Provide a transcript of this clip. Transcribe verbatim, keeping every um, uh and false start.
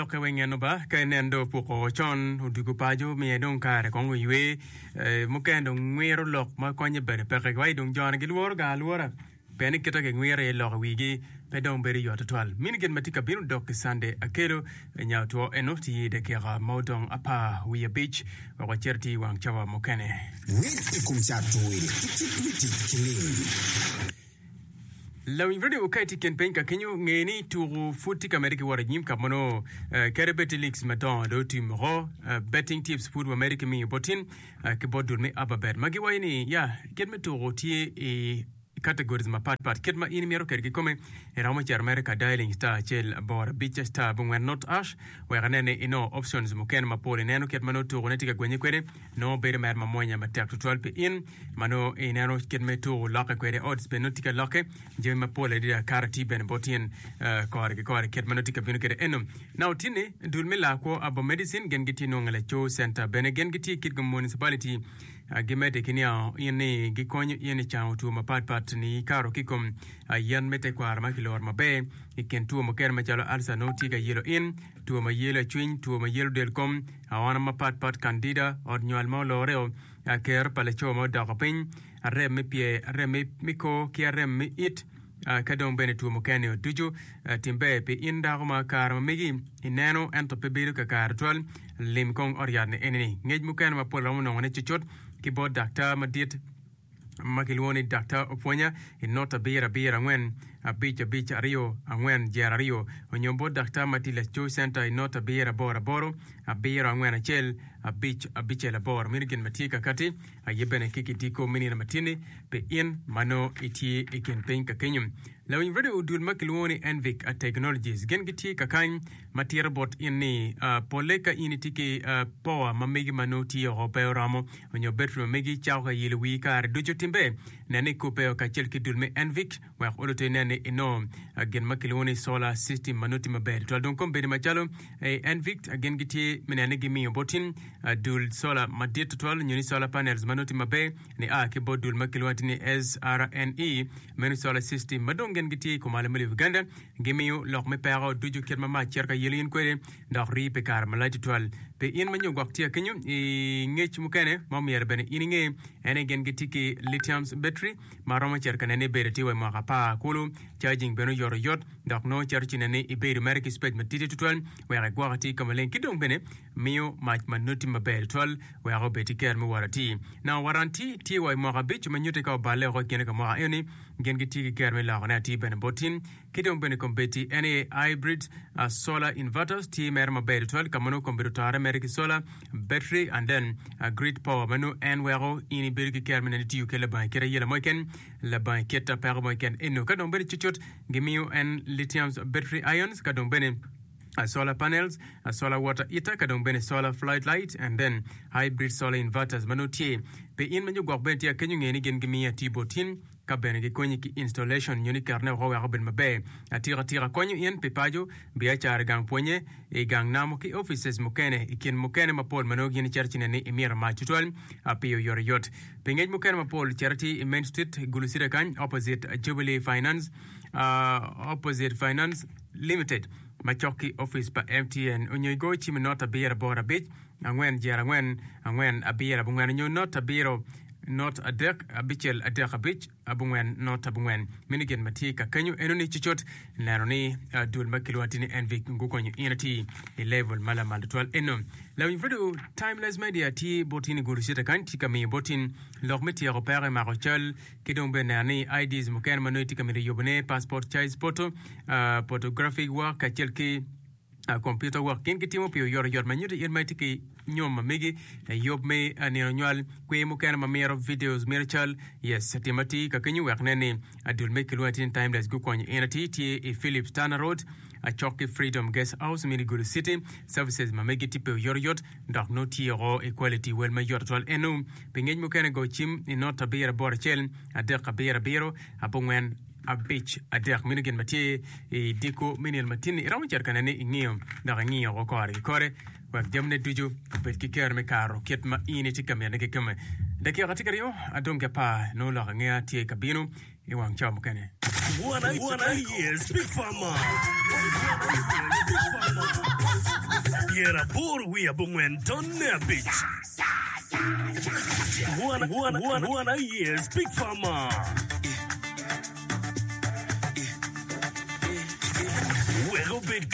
Lokke weng eno ba ka inen dong opuko con odwogo paco miye dong kare kong oywe eh, mukene dong ngwiro lok ma konye bene peke wai dong joni gilworo ga alwora pien ni kite gingwiro iye lok i wigi pe dong bedo yot tutwal. Mini gin ma tye ka bino dok ki Sunday akelo nya otwo eno tye i dakika ma odong apar wiye abic wek wacit atir i wang cawa mukene. Ngec i kom cato wil ki kit me tic ki lim. Lawiny radio ka itye i kin piny ka kenyo, nge ni tuku pud tye ka medde ki wot anyim ka ma nongo kadi bed tye leagues madongo dong otim woko. Betting tips pud wamedde ki miyo bot tin ki bot dul me Ababet ma giwaco ni ya kit me tuku tye i categories mapat pat kit ma in imito kwede kikome. Iromo cito mere ka dialing star acel aboro abic star abongwen not hash wek inen ni inongo options mukene mapol ineno kit ma nongo tuku ne tye ka gwenye kwede. Nongo bedo mere mamwonya matek tutwal pi in ma nongo ineno kit me tuku lokke kwede. Odds bene nongo tye ka lokke jami mapol adada kare tye bene bot in kore ki kore kit ma nongo tye ka bino kwede eno. Now tinni dul me laa kwo Abo Medicine gin gitye nongo laco center bene gin gitye i Kitgum Municipality gimedde ki niango in ni gikonyo in i cango two mapat pat ni ikato ki kom yen me tekwaro ma kiloro maber i kin two mukene macalo ulcer nongo tye ka yelo in two ma yelo acwiny, two ma yelo del kom, aona mapat pat, candida, ot nywal ma oloreo, kero pa laco ma odoko piny, arem me pyer, arem me kor ki arem me it, ka dong bene two mukene-ni ducu. Tim ber pi in dako ma kare ma megi ineno ento pe bedo kakare tutwal. Lim kong ot yat-ni eni-ni. Ngec mukene mapol romo nongone cucut ki bot daktar madit. ma kilwongo ni Daktar Opwonya i not abiro abiro angwen abic abic aryo angwen jer aryo onyo bot Daktar ma tye i Laco Center i not abiro aboro aboro abiro angwen acel abic abicel aboro. Meno gin ma tye kakati aye bene ki kidiko me nino matinni pi in ma nongo itye i kin piny ka kenyo. Lawiny radio dul ma kilwongo ni Envic Technologies gin gitye kakany ma tito bot in ni polle ka in itye ki power ma megi ma nongo tye oko pe oromo onyo betri ma megi cako ka yelo wii kare ducu timbe nen ni ikubbe kacel ki dul me Envic wek oluto inen ni inongo gin ma kilwongo ni solar system ma nongo tye maber tutwal. Dong kombeddi macalo Envic gin gitye me neno ni gimiyo bot in dul solar madit tutwal nyo ni solar panels ma nongo tye maber nia ki bot dul ma kilwongo ni S R N E meno solar system ma dong gin gitye i kumalo me Uganda gimiyo lok me peko ducu kit ma mac cito ka yelo in kwede dok rii pi kare malac tutwal. Pi in ma nyo gwok tye kenyo i ngec mukene ma omyero bene in inge en ni gin gitye ki lithium battery ma romo cito ka nene ibedo tye wa i mwaka apar kulu charging bene oyot oyot dok nongo cito ci nene ibedo mere ki space matidi tutwal wek igwok atir ka maleng ki dong bene miyo mac ma noti maber tutwal wek obed ki kero me wot atir. Now warranty tye wa i mwaka abic ma nyutti ka oballe oko i kine ka mwaka eni gin gitye ki kero me lokone atir bene bot in ki dong bene kombeddi en aye hybrid uh, solar inverters tye mere maber tutwal ka ma nongo kombedo otore mere ki solar battery and then uh, grid power ma nongo en weko in ibedo ki kero me neno itiyo ki labongo kit ayela mo keken labongo kit peko mo keken eno ka dong bene cucut gimiyo en lithium battery ions ka dong bene uh, solar panels, uh, solar water heater, ka dong bene solar flood light and then hybrid solar inverters ma nongo tye pi in ma nyo gwok bene tye akenyo nge ni gin gimiyo atir bot in ka bene gikonyi ki installation nyo ni ketone woko wek obed maber atika tika konyo in pi paco biacara gang pwonye i gang namo ki offices mukene i kin mukene mapol ma nongo gin icito ci neni imito mac tutwal pi oyotoyot pi ngec mukene mapol cito atir i Main Street Gulu City kany opposite Jubilee Finance uh, opposite Finance Limited macok ki office pa M T N onyo igo cim not abiro aboro abic angwen jer angwen angwen abiro abongwen onyo not abiro not adek abicel adek abic abongwen not abongwen. Meno gin ma tye ka kenyo eno ni cucut neno ni uh, dul ma kilwongo atir ni Envic gukonyo in ati i level ma lamal tutwal eno. Lawiny radio Timeless Media tye bot in i Gulu City kany tye ka miyo bot in lok me tyeko peko i mako cal ki dong bene neno ni I Ds mukene ma nongo itye ka mito yubone passport size photo, uh, photographic work kacel ki uh, computer work gin gitimo pi oyotoyot ma nyuto in ma itye ki nyom ma megi yub me uh, nino nywal kwer mukene ma mito videos mito cal yes tim atir ka kenyo wek nen ni adul me kilwongo atir ni Timeless gukonyo in atir tye i Philips Turner Road acok ki Freedom Guest House mini Gulu City. Services ma megi tye pe oyotoyot dok nongo tye oko i quality wel ma yot tutwal eno. Pi ngec mukene go cim i not abiro aboro acel adek abiro abiro abongwen abic adek. Meno gin ma tye i diko me nino matinni iromo cito ka nene ingiyo dok ingiyo oko kore ki kore wek jamine ducu obed ki kero me karo kit ma in itye ka mitone kikome. Dakika tye ka ryo adong ki apar nongo lok angeya tye ka bino i wang cawa mukene. One, one years, Big Pharma. One years, Big Pharma. Pyeraboro wiye abongwen tonne abic. Wan, wan, wan, wan aye Speak Farmer.